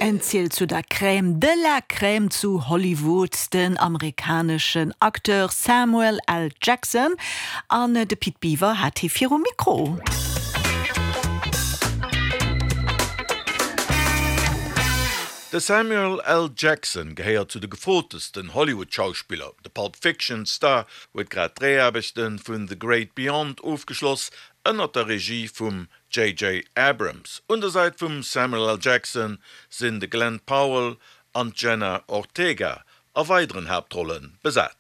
En zielt zu der Crème de la Crème zu Hollywood, den amerikaneschen Acteur Samuel L. Jackson. An de Pit Biwer hat hie virum Mikro. De Samuel L. Jackson gehéiert zu de gefrotesten Hollywood-Schauspiller. De Pulp Fiction-Star huet grad d'Dréiaarbechte vun The Great Beyond ofgeschloss, ënnert der Regie vum JJ. Abrams. Un der Säit vum Samuel L. Jackson sinn de Glen Powell an d'Jenna Ortega a weideren Haaptrolle besat.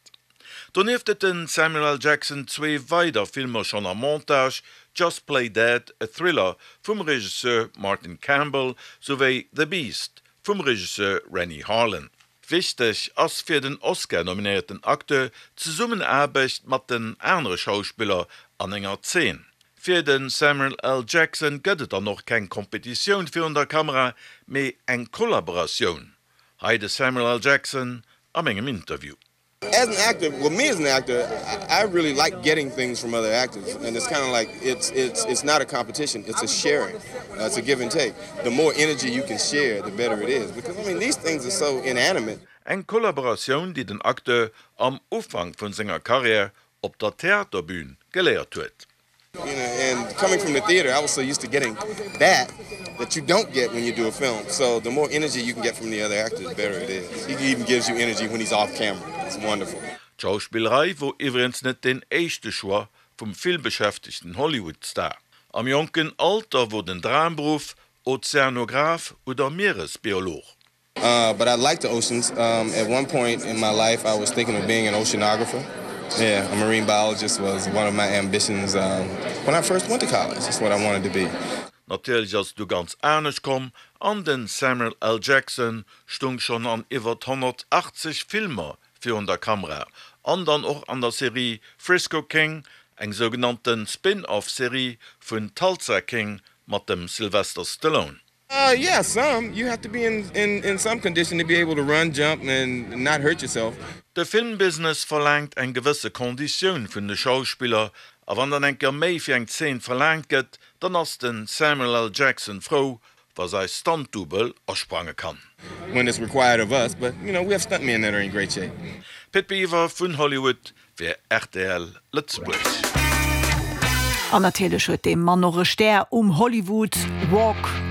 Donieft huet de Samuel L. Jackson zwee weider Filmer schonn am Montage, Just Play Dead, e Thriller vum Regisseur Martin Campbell, souwéi The Beast vum Regisseur Renny Harlin. Wichteg ass fir den Oscar-nominéierten Acteur d'Zesummenaarbecht mat den anere Schauspiller an enger Zeen. Fir de Samuel L. Jackson gëtt et dann och keng Kompetitioun virun der Kamera, mee eng Kollaboratioun. Hei de Samuel L. Jackson a mengem Interview. As an actor, well me as an actor, I really like getting things from other actors and it's kind of like it's it's it's not a competition, it's a sharing. Uh, it's a give and take. The more energy you can share, the better it is because I mean these things are so inanimate. Eng Kollaboratioun, déi den Acteur am Ufank vun senger Karriär op der Theaterbün geléiert huet. And coming from the theater, I was so used to getting that that you don't get when you do a film. So the more energy you can get from the other actors, the better it is. He even gives you energy when he's off camera. It's wonderful. D'Schauspillerei wor iwwregens net deen éischte Choix vum villbeschäftegten Hollywood-Star. Am jonken Alter wor den Dramberuff Ozeanograph oder Mieresbiolog. Uh, but I like the oceans. Um, at one point in my life, I was thinking of being an oceanographer. Yeah, a marine biologist was one of my ambitions um, when I first went to college. That's what I wanted to be. Natierlech ass et du ganz anescht komm an den Samuel L. Jackson stung schonn an iwwert 180 Filmer virun der Kamera an dann och an der Serie Frisco King, eng sougenannten Spin-Off Serie vun Tulsa King mat dem Sylvester Stallone. Uh, yeah, some. You have to be in, in, in some condition to be able to run, jump and not hurt yourself. De Filmbusiness verlaangt eng gewësse Konditioun vun de Schauspiller, a wann dann eng Kéier méi fir eng Zeen verlaangt gëtt, dann ass de Samuel L. Jackson frou, wa säi Stunt-Double asprange kann. When it's required of us, but you know, we have stuntmen that are in great shape. Pit Biwer vun Hollywood fir rtl Lëtzebuerg. An natierlech huet dee Mann och e Stär um Hollywood Walk of.